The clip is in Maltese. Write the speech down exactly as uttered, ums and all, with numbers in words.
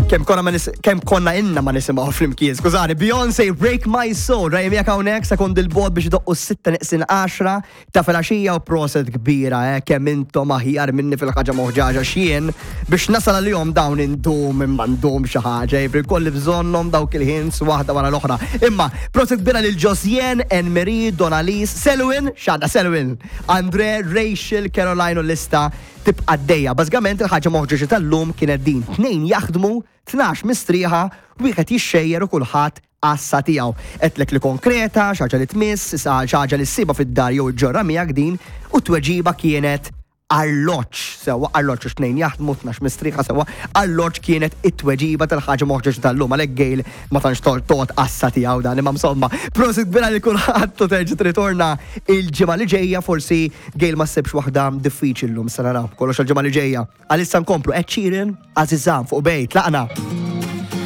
Kemm konna ma nis kemm konna inna ma nisimgħu flimkien. Skużani, Beyoncé Break My Soul, rajm jekk hawnhekk sekondi 'l bogħod biex idoqqu s-sitta neqsin għaxra ta' filgħaxija u proset kbira, eh, kemm intom aħjar minni fil-ħaġa moħġaġa xien biex nasal għalihom dawn indum imma ndum xi ħaġa, jifri kolli bżonnhom dawk il-hints waħda wara l-oħra. Imma proset kbira lil Josien, Enmarie, Donalis, Selwyn, xada Selwyn, Andre, Rachel, Caroline u lista tibqa' dejja. Bażikament il-ħaġa moħġaġa tal-lum kienet din. Tnejn jaħdmu, tnax mistrieħa, wieħed jixxejjer u kulħadd għassa tiegħu. Għedtlek li konkreta, xi ħaġa li tmiss, xi ħaġa li ssiba fid-dar jew ġorra miegħek din, u tweġiba kienet arloġġ, sewwa arloġġ għax tnejn jaħdmu, tnax mistrieħa sewwa, arloġġ kienet it-tweġiba tal-ħaġa moħġaġa tal-lum, għalhekk Gail ma tantx toqgħod għassa tiegħu dan, imma insomma, prosit kbira li kulħadd u terġa' tritorna il-ġimgħa li ġejja, forsi Gail ma ssibx waħda diffiċli llum, se naraw kollox il-ġimgħa li ġejja. Għalissa nkomplu Ed Sheeran, Azizam fuq bejt, laqna.